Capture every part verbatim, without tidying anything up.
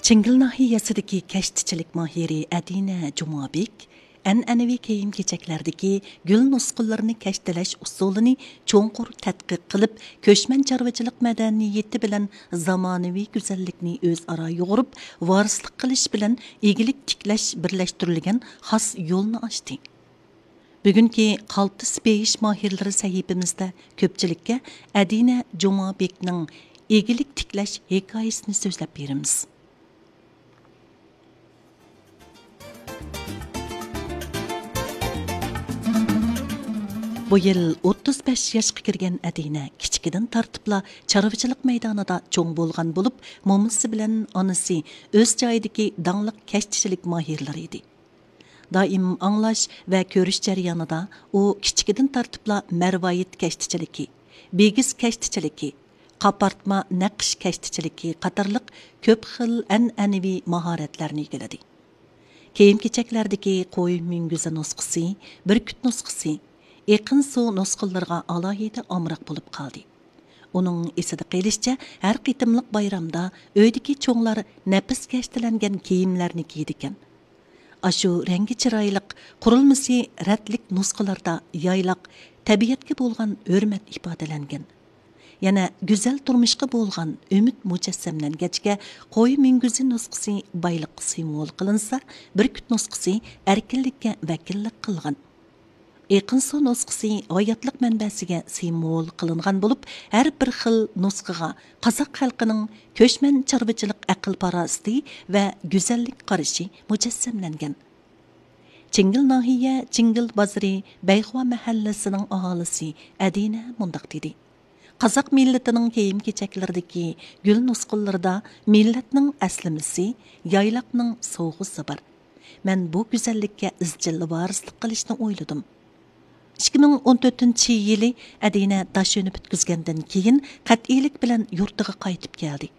چىڭگىل ناھىيەسىدىكى كەشتىچىلىك ماھىرى ئەدىنە جۇمابېك ئەنئەنىۋى كىيىم-كېچەكلەردىكى گۈل نۇسخىلىرىنى كەشتىلەش ئۇسۇلىنى چوڭقۇر تەتقىق قىلىپ، كۆچمەن چارۋىچىلىق مەدەنىيىتى بىلەن زامانىۋى گۈزەللىكنى ئۆزئارا يۇغۇرۇپ، ۋارىسلىق قىلىش بىلەن ئىگىلىك تىكلەش بىرلەشتۈرۈلگەن خاس يولنى ئاچتى. بۈگۈنكى قالتىس بېيىش ماھىرلىرى سەھىپىمىزدە كۆپچىلىككە ئەدىنە جۇمابېكنىڭ ئىگىلىك تىكلەش ھېكايىسىنى سۆزلەپ بېرىمىز. بۇ يىل ئوتتۇز بەش ياشقا كىرگەن ئەدىنە كىچىكىدىن تارتىپلا چارۋىچىلىق مەيدانىدا چوڭ بولغان بولۇپ، مومىسى بىلەن ئانىسى ئۆز جايىدىكى داڭلىق كەشتىچىلىك ماھىرلىرى ئىدى. دائىم ئاڭلاش ۋە كۆرۈش جەريانىدا ئۇ كىچىكىدىن تارتىپلا مەرۋايىت كەشتىچىلىكى، بىگىز كەشتىچىلىكى، قاپارتما نەقىش كەشتىچىلىكى قاتارلىق كۆپ خىل ئەنئەنىۋى ماھارەتلەرنى ئىگىلىدى. كىيىم-كېچەكلەردىكى قوي مۈڭگۈزى نۇسخىسى، بۈركۈت نۇسخىسى، ئېقىن سۇ نۇسخىلىرىغا ئالاھىدە ئامراق بولۇپ قالدى. ئۇنىڭ ئېسىدە قېلىشىچە، ھەر قېتىملىق بايرامدا ئۆيدىكى چوڭلار نەپىس كەشتىلەنگەن كىيىملەرنى كىيىدىكەن. ئاشۇ رەڭگى چىرايلىق، قۇرۇلمىسى رەتلىك نۇسخىلاردا يايلاق تەبىئەتكە بولغان ھۆرمەت ئىپادىلەنگەن. يەنە گۈزەل تۇرمۇشقا بولغان ئۈمىد مۇجەسسەملەنگەچكە، قوي مۈڭگۈزى نۇسخىسى بايلىققا سىمۋول قىلىنسا، بۈركۈت نۇسخىسى ئەركىنلىككە ۋەكىللىك قىلغان. ئېقىن سۇ نۇسخىسى ھاياتلىق مەنبەسىگە سىمۋول قىلىنغان بولۇپ، ھەر بىر خىل نۇسخىغا قازاق خەلقىنىڭ كۆچمەن چارۋىچىلىق ئەقىل-پاراسىتى ۋە گۈزەللىك قارىشى مۇجەسسەملەنگەن. چىڭگىل ناھىيە چىڭگىل بازىرى بەيخۇا مەھەللىسىنىڭ ئاھالىسى ئەدىنە مۇنداق دېدى: قازاق مىللىتىنىڭ كىيىم-كېچەكلىرىدىكى گۈل نۇسخىلىرىدا مىللەتنىڭ ئەسلىمىسى، يايلاقنىڭ سوۋغىسى بار. مەن بۇ گۈزەللىككە ئىزچىل ۋارىسلىق قىلىشنى ئويلىدىم. ئىككى مىڭ ئون تۆتىنچى يىلى ئەدىنە داش ئۈنى پۈتكۈزگەندىن كېيىن، قەتئىيلىك بىلەن يۇرتىغا قايتىپ كەلدى.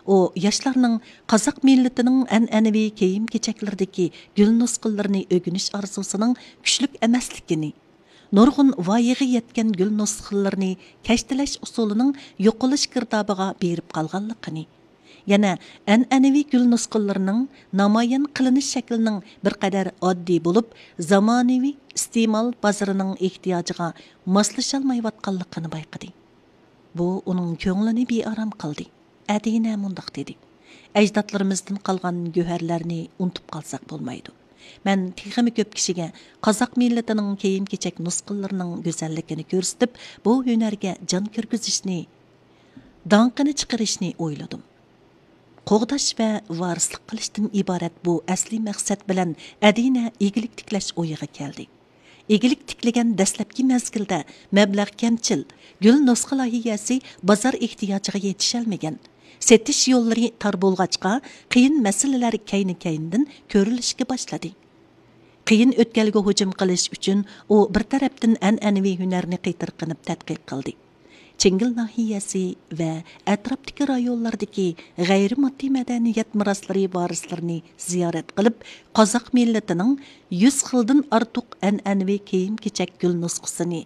ئۇ ياشلارنىڭ قازاق مىللىتىنىڭ ئەنئەنىۋى كىيىم-كېچەكلىرىدىكى گۈل نۇسخىلىرىنى ئۆگىنىش ئارزۇسىنىڭ كۈچلۈك ئەمەسلىكىنى، نۇرغۇن ۋايىغا يەتكەن گۈل نۇسخىلىرىنى كەشتىلەش ئۇسۇلىنىڭ يوقىلىش گىردابىغا بېرىپ قالغانلىقىنى، يەنە ئەنئەنىۋى گۈل نۇسخىلىرىنىڭ نامايان قىلىنىش شەكلىنىڭ بىر قەدەر ئاددىي بولۇپ، زامانىۋى ئىستېمال بازىرىنىڭ ئېھتىياجىغا ماسلىشالمايۋاتقانلىقىنى بايقىدى. بۇ ئۇنىڭ كۆڭلىنى بىئارام قىلدى. ئەدىنە مۇنداق دېدى: ئەجدادلىرىمىزدىن قالغان گۆھەرلەرنى ئۇنتۇپ قالساق بولمايدۇ. مەن تېخىمۇ كۆپ كىشىگە قازاق مىللىتىنىڭ كىيىم-كېچەك نۇسخىلىرىنىڭ گۈزەللىكىنى كۆرسىتىپ، بۇ ھۈنەرگە جان كىرگۈزۈشنى، داڭقىنى چىقىرىشنى ئويلىدىم. قوغداش ۋە ۋارىسلىق قىلىشتىن ئىبارەت بۇ ئەسلىي مەقسەت بىلەن ئەدىنە ئىگىلىك تىكلەش ئويىغا كەلدى. ئىگىلىك تىكلىگەن دەسلەپكى مەزگىلدە مەبلەغ كەمچىل، گۈل نۇسخا لايىھەسى بازار ئېھتىياجىغا يېتىشەلمىگەن، سېتىش يوللىرى تار بولغاچقا، قىيىن مەسىلىلەر كەينى-كەينىدىن كۆرۈلۈشكە باشلىدى. قىيىن ئۆتكەلگە ھۇجۇم قىلىش ئۈچۈن، ئۇ بىر تەرەپتىن ئەنئەنىۋى ھۈنەرنى قېتىرقىنىپ تەتقىق قىلدى. چىڭگىل ناھىيەسى ۋە ئەتراپتىكى رايونلاردىكى غەيرىي ماددىي مەدەنىيەت مىراسلىرى ۋارىسلىرىنى زىيارەت قىلىپ، قازاق مىللىتىنىڭ يۈز خىلدىن ئارتۇق ئەنئەنىۋى كىيىم-كېچەك گۈل نۇسخىسىنى